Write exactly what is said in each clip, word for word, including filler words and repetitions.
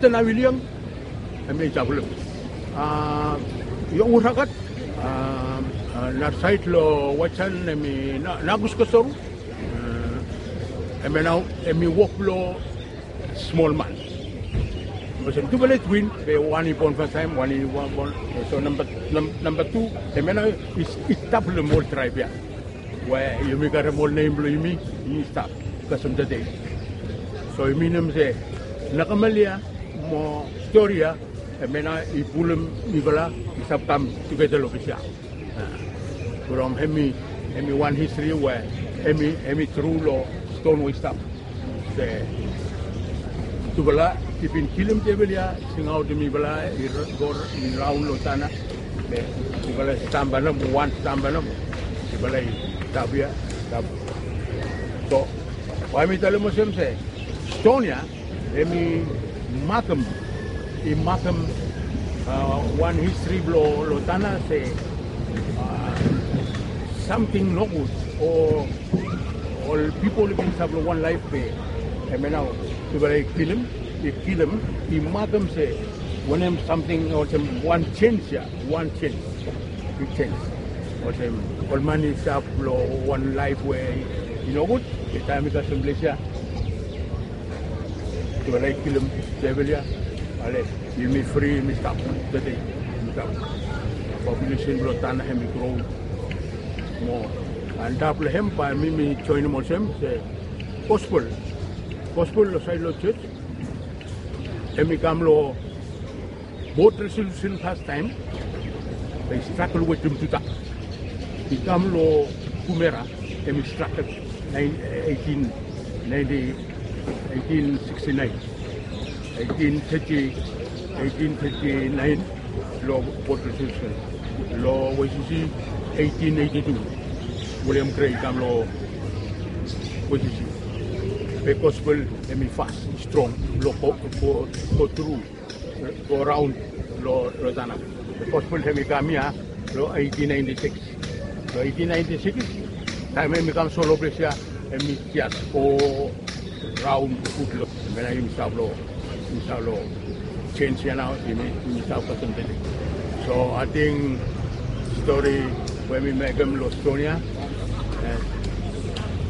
Tena William, hemi stap long, a, Yongu Rakat, a, a, nara saed long Waitsan, hemi Na-, Nakus Kosoru. A, hemia nao, hemi wok blong smol man. Olsem tufala i twin, be wan i bon fastaem, wan i wan bon. So namba, nam-, namba tu, hemia nao i, i stap long ol traeb ia. We yumi karem ol nem blong yumi, yumi stap kasem tede. So i minim se, nakamalia mo stori ia, hemia nao i pulum mifala i stap kam tugeta long ples ia. A, from hemi, hemi wan histri we hemi, hemi tru long ston we i stap. Se, tufala i bin kilim tevil ia, singaotem mifala i r-, go r-, i raon long tana. Be tufala i stamba nomo, wan stamba nomo. Tufala i stap ia, stap. So, bae mi talem olsem se, ston ia, hemi makem, i makem, a, wan histri blong, long tana se, a, samting nogud o ol pipol i bin stap long wan laef be hemia nao tufala i kilim, i kilim, i makem se wanem samting olsem wan jenis ia, wan jenis, big jenis. Olsem ol man i stap long wan laef we i nogud, be taem i kasem ples ia, tufala i kilim tevil ia, ale, yumi fri, yumi stap tede, yumi stap. Populesen blong tana hemi gro moa. Antap long hem bae mi, mi joenem olsem se gospel. Gospel long saed long jos, hemi kam long Port Resolution fastaem, be i strakel wetem Tuta. I kam long Kumera, hemi strakel naen-, eitin naenti, eitin siksti naen, eitin teti, eitin teti naen, long Port Resolution. Long Waisisi, eitin eiti tu, William Gray i kam long Waisisi. Be gospel hemi fas, i strong, long go, go, go tru, go raon long, long tana. Be gospel hemi kam ia long eitin naenti sikis. Long eitin naenti sikis, taem hemi kam so long ples ia, hemi jes go raon gud long, hemia nao yumi stap long, yumi stap long jenis ia nao, yumi, yumi stap kasem tede. So ating stori we mi mekem long ston ia, e,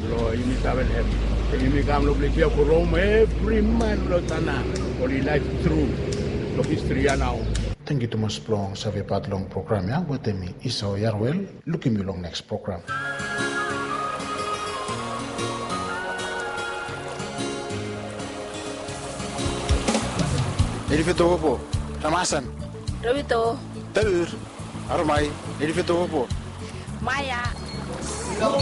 blong yumi save hem. Yumi kam long ples ia from evri man long tana oli laef tru long histri ia nao. Tangkiu tumas blong save pat long program ia wetem mi Isao Yarwel. Lukim yu long neks program. Neli Fetopopo, Ramasan. Rovito. Taur. Aromai, Neli Fetopopo. Maya. Long